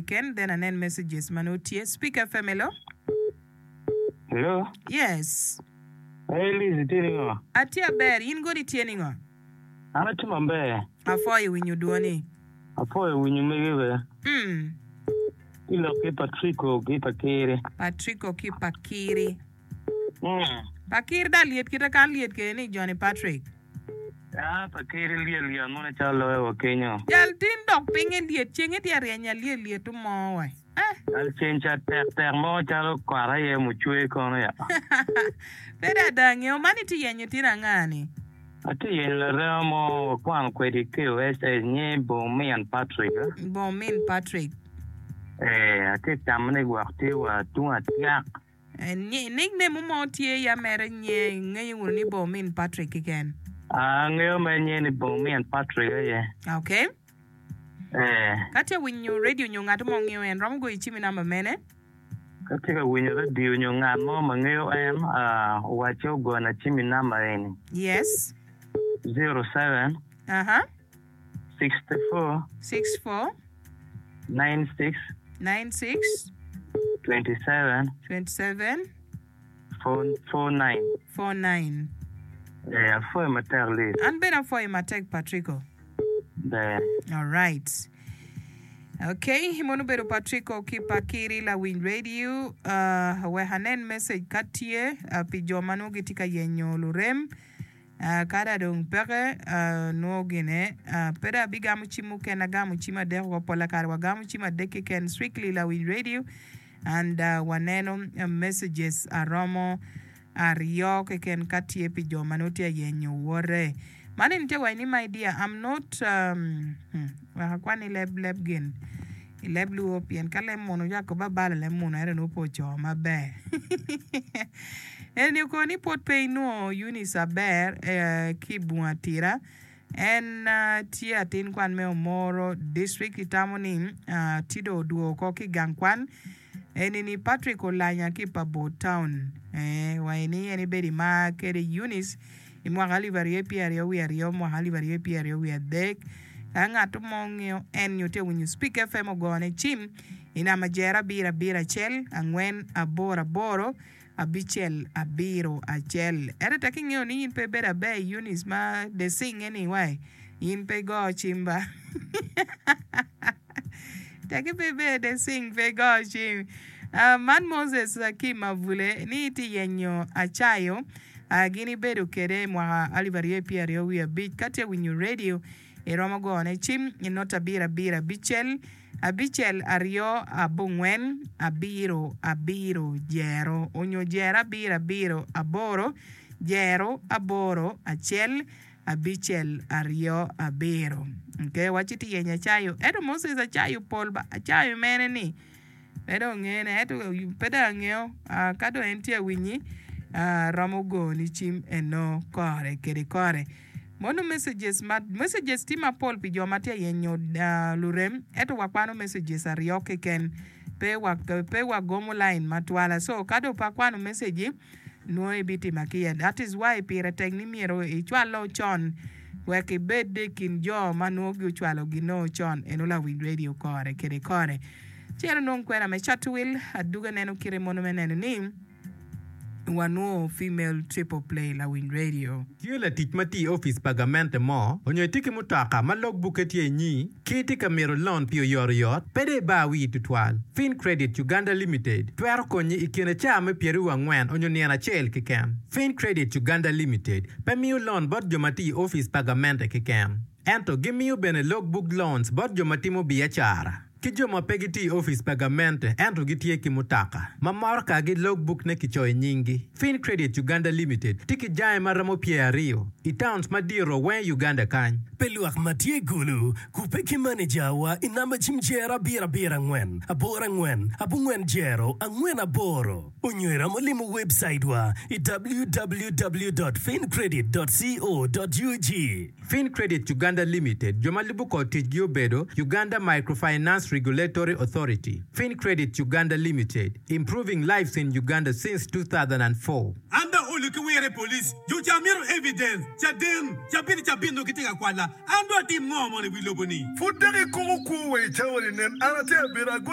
keken then anen messages ma nongo tye. Speak FM hello. Hello. Yes. Hey Liz, itye ningo? Atye aber, in godi itye ningo? An atye maber. Apwoyo winyo dwoni. Apwoyo winyo mege be. Mm. Ki lok ki Patrico ki Pakiri. Patrico ki Pakiri. Mm. Pakiri da lyet kite kan lyet kede ni Johnny Patrick. Ah, Pakiri lyet lyet mono calo loyo wa kenyo. Jal tin dok pinge lyet cenge tye aryeny alyet lyet mo wa. Eh. Jal ceng ca tek tek mo calo kot aye mucwe kono ya. Pe da ada angeyo man itye yenyo tin anga ni? Atye yenyo larema mo wakwano kwede i KOSS nyinge Bong Min Patrick. Bong Min Patrick. Ee, atye tamo ni gwok tye wa tung atyak. Nickname mo tye ya mere nye ingeyo wunu ni Bong Min Patrick keken? Angeyo mere nyinge ni Bong Min Patrick aye. Okay. Ee. Ka tye winyo radio nyo ngat mo ngeyo en romo goyo cim i namba mene? Ka tye ka winyo radio nyo ngat mo ma ngeyo en, owacce ogona cim i namba eni. Yes. 07. Aha. 64. 64. 96. 96. 27. 27. 49. 49. Ee, apwoyo matek Liz. An bene apwoyo matek Patrico. Ber. Alright. Okay, mono obedo Patrico ki Pakiri lawiny radio. Uh, wek anen message ka tye uh, pi jo ma nongo gitye ka yenyo lurem. Uh, kada dong peke uh, nongo gine uh, pe dong abigamo cim mukene agamo cim adek woko pola kare wagamo cim adek keken strictly lawiny radio and uh, waneno uh, messages aromo aryo keken ka tye pi jo ma nongo tye ayenyo wote. Man eni tye waci ni my dear I'm not um, hmm, wek akwan i leb leb gin i leb luo pien ka leb munu cako ba balo leb munu ento nongo pe oco maber. Eni oko ni pwod pe inwongo Eunice Aber eh, ki i bunga tira En tye atin kwan me Omoro District itamo ni tye dong odwogo oko ki gang kwan eni ni Patrick Olanya ki pa Bor Town wa ini en ibedo imar kede Eunice i mwaka alip aryo pyeraryo wiye aryo mwaka alip aryo pyeraryo wiye adek ka ngat mo ngeyo en nyo tye winyo Speak FM ogone cim i namba jero abiro abiro acel angwen aboro aboro abicel abiro acel. Ento tek ingeyo ni in pe ibedo aber i Eunice ma desinge ni wai in pe igo cim ba. Tek pe ibedo desing pe igo cim. Uh, man Moses ki Mavule ni itye yenyo acayo uh, gin ibedo kede i mwaka alip aryo pyeraryo wiye abic ka tye winyo radio Iromo gone cim i not abiro abiro abicel, abicel aryo abongwen, abiro abiro jero, onyo jero abiro abiro aboro, jero aboro acel, abicel aryo abiro. Okay, waci ti yenyo acayo. Ento Moses acayo pol ba, acayo mene ni? Pe dong ongene, ento pe dong angeyo ka dong en tye awinyi romo goni cim eno kore kede kore. Mono messages ma messages tye mapol pi jo ma tye ayenyo lurem ento wakwano messages aryo keken pe wa pe wagomo line matwala so ka dong pe akwano message nongo ibitima kica that is why pire tek ni myero icwalo con wek ibed i kin jo ma nongo gucwalo gino con eno lawiny radio kore kede kore. Ci en onongo kwena me cato wil, aduga neno kite mono me neno ni wanwo female triple play lawiny radio. Tye latic ma tye i opic pa gamente mo onyo itye ki mutoka ma log bukke tye inyi ki itye ka mito lon pi oyotoyot, pe dong ibar wii tutwal. Fin Credit Uganda Limited twero konyi i kine caa me pyeraryo angwen onyo nino acel keken. Fin Credit Uganda Limited pe miyo lon bot jo ma tye i opic pa gamente keken, ento gimiyo bene log book loans bot jo ma timo biacara. Ki jo ma pe gitye i opic pa gamente ento gitye ki mutoka ma morokagi logbook-ne kicoyo nyinggi. Fin Credit Uganda Limited tye ki jange ma romo pyeraryo i towns madito weng i Uganda kany. Pi lwak ma tye i Gulu, kubbe ki manejawa i namba cim jero abiro abiro angwen aboro angwen abongwen jero angwen aboro onyo iromo limo webcaitwa i www dot fincredit dot co dot ug. Fin Credit Uganda Limited, jo ma lubo kor ticgi obedo, Uganda Microfinance Regulatory Authority, Fin Credit Uganda Limited, improving lives in Uganda since 2004. An dong olo ki wire i police, jo ca mito evidence, caden, cabit i cabit nongo gitye ka kwala, an dong atim ngo mono i wi lobo ni? Pud dok ikoko kwo wa i cawa-ni, nen, an atye abino, agonyo.